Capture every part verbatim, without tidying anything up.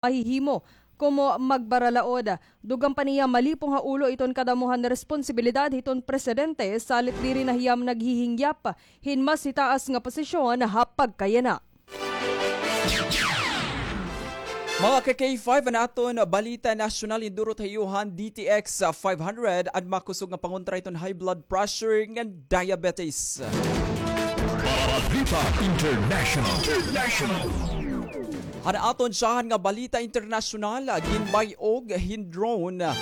mahihimo komo magbaralaod. Dugang pa niya malipong ha ulo iton kadamo han responsibilidad hiton presidente, salit diri na hiya naghihingyap hin mas hitaas nga posisyon ha pagkayana. Mga ka-K five, an aton balita nasyonal, indurot ha iyo han D T X five hundred, an makusog nga pangontra iton high blood pressure ngan diabetes. Balita International. International. Han aton syahan nga balita internasyonal, ginbay-og hin drone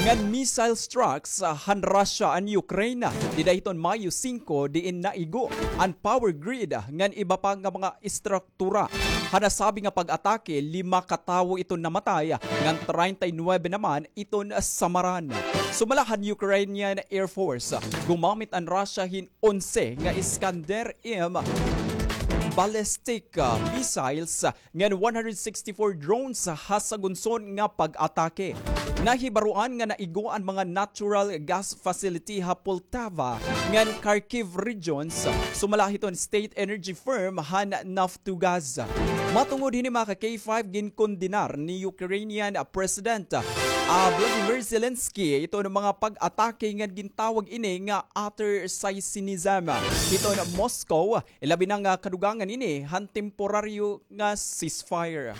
ngan missile strikes han Russia an Ukraine dida hiton Mayo singko, diin naigo an power grid ngan iba pa nga mga estruktura. Han nasabi nga pag-atake, lima ka tawo iton namatay, ngan treinta y nuebe naman iton samaran. Sumala han Ukrainian Air Force, gumamit an Russia hin onse nga Iskander M ballistic, ah, missiles ngan one hundred sixty-four drones ha sagunson nga pag-atake. Nahibaroan nga naigo an mga natural gas facility ha Poltava ngan Kharkiv regions, sumala hiton state energy firm han Naftogaz. Matungod hini, mga ka-K five, ginkondenar ni Ukrainian President, ah, Volodymyr Zelensky iton mga pag-atake ngan gintawag ini nga utter cynicism hiton Moscow, ilabi na nga kadugangan ini han temporaryo nga ceasefire.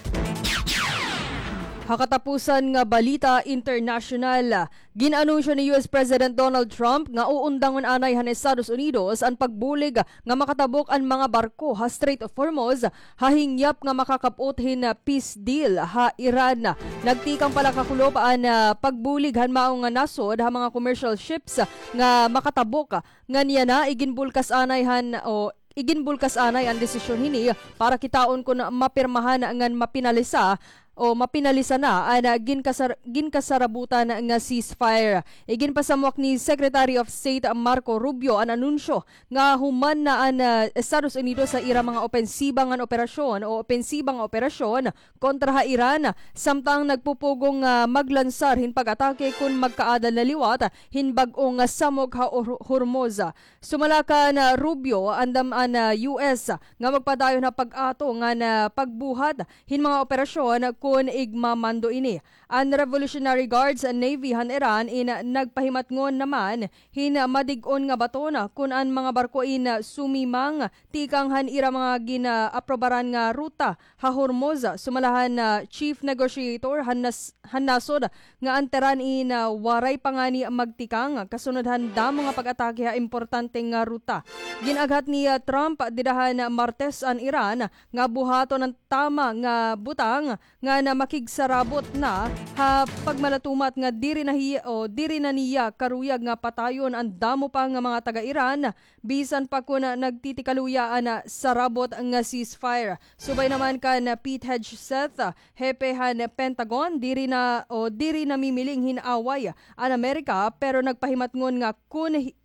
Ha katapusan nga balita internasyonal, gin-anunsyo ni U S President Donald Trump nga uundangon anay han Estados Unidos an pagbulig nga makatabok an mga barko ha Strait of Hormuz ha hingyap nga makakap-ot hin peace deal ha Iran. Nagtikang pala kakulop an, ah, pagbulig han mao nga nasod ha mga commercial ships nga makatabok. Ngan yana, iginbulkas anay han, o, iginbulkas anay an desisyon hini para kitaon kon mapirmahan ngan mapinalisa, o, mapinalisa na an, ah, ginkasar-, ginkasarabutan nga ceasefire. Iginpasamwak ni Secretary of State Marco Rubio an anunsyo nga human na an, ah, Estados Unidos sa ira mga opensiba ngan operasyon o opensiba nga operasyon kontra ha Iran, samtang nagpupugong, ah, maglansar hin pag-atake kon magkaada na liwat hin bag-o nga samok ha Hor-, Hormuz. Sumala kan, ah, Rubio, andam an, ah, U S nga magpadayon ha pag-ato ngan pagbuhat hin mga operasyon kon igmamando ini. An Revolutionary Guards Navy han Iran in nagpahimatngon naman hin madig-on nga baton kon an mga barko in sumimang tikang han ira mga gin-aaprobaran nga ruta ha Hormuz. Sumala han, ah, chief negotiator han nas-, han nasod nga an Tehran in, ah, waray pa ngani magtikang kasunod han damo nga pag-atake ha importante nga ruta. Gin-aghat ni, ah, Trump dida han Martes an Iran nga buhaton an tama nga butang ngan makigsarabot na ha pagmalatumat nga diri na hi-, o diri na niya karuyag nga patayon an damo pa nga mga taga-Iran, bisan pa kon nagtitikaluya an sarabot nga ceasefire. Subay naman kan Pete Hegseth, hepe han Pentagon, diri na, o diri namimiling hin away an Amerika, pero nagpahimatngon nga kon hi-,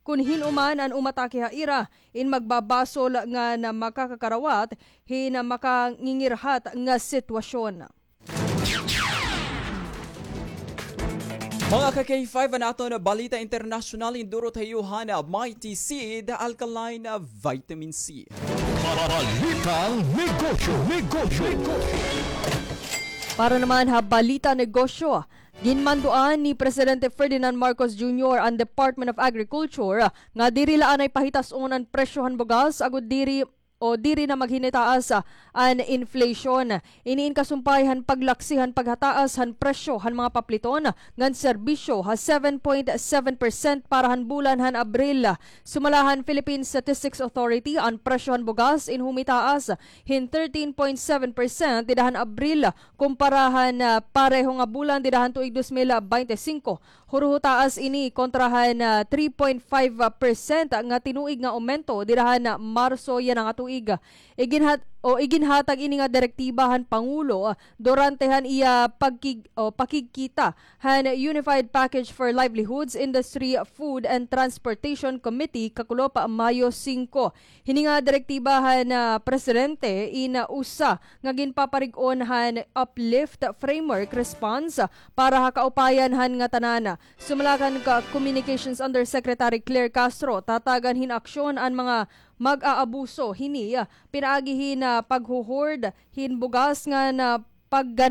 kon hin-o man an umatake ha ira, in magbabasol ngan makakakarawat hin makangingirhat nga sitwasyon. Mga ka-K five, an aton balita internasyonal, indurot ha iyo han Mighty Seed Alkaline Vitamin C. Balitang negosyo, negosyo, negosyo. Para naman ha balita negosyo, ginmanduan ni Presidente Ferdinand Marcos Junior an Department of Agriculture nga diri la anay pahitas-on an presyo han bugas agod diri o diri na maghinitaas, ah, an inflation. Ini in kasumpay han paglaksi han paghataas han presyo han mga papliton ngan serbisyo ha seven point seven percent para han bulan han Abril. Sumala han Philippine Statistics Authority, an presyo han bugas in humitaas hin thirteen point seven percent dida han Abril kumpara han, ah, pareho nga bulan dida han tuig dos mil bente singko. Huruho taas ini kontra han, ah, three point five percent nga tinuig nga aumento dida han, ah, Marso yana nga tuig. Iginhat-, o iginhatag ini nga direktiba han Pangulo, ah, durante han iya pagkig-, o pakigkita han Unified Package for Livelihoods, Industry, Food and Transportation Committee kakulop Mayo singko. Hini nga direktiba han, ah, presidente in, ah, usa nga ginpaparig-on han uplift framework response para ha kaupayan han ngatanan. Sumala kan ka-, Communications Undersecretary Claire Castro, tatagan hin aksyon an mga mag-aabuso hini, ah, pinaagi hin, ah, pagho-hoard hin bugas ngan, ah, pagga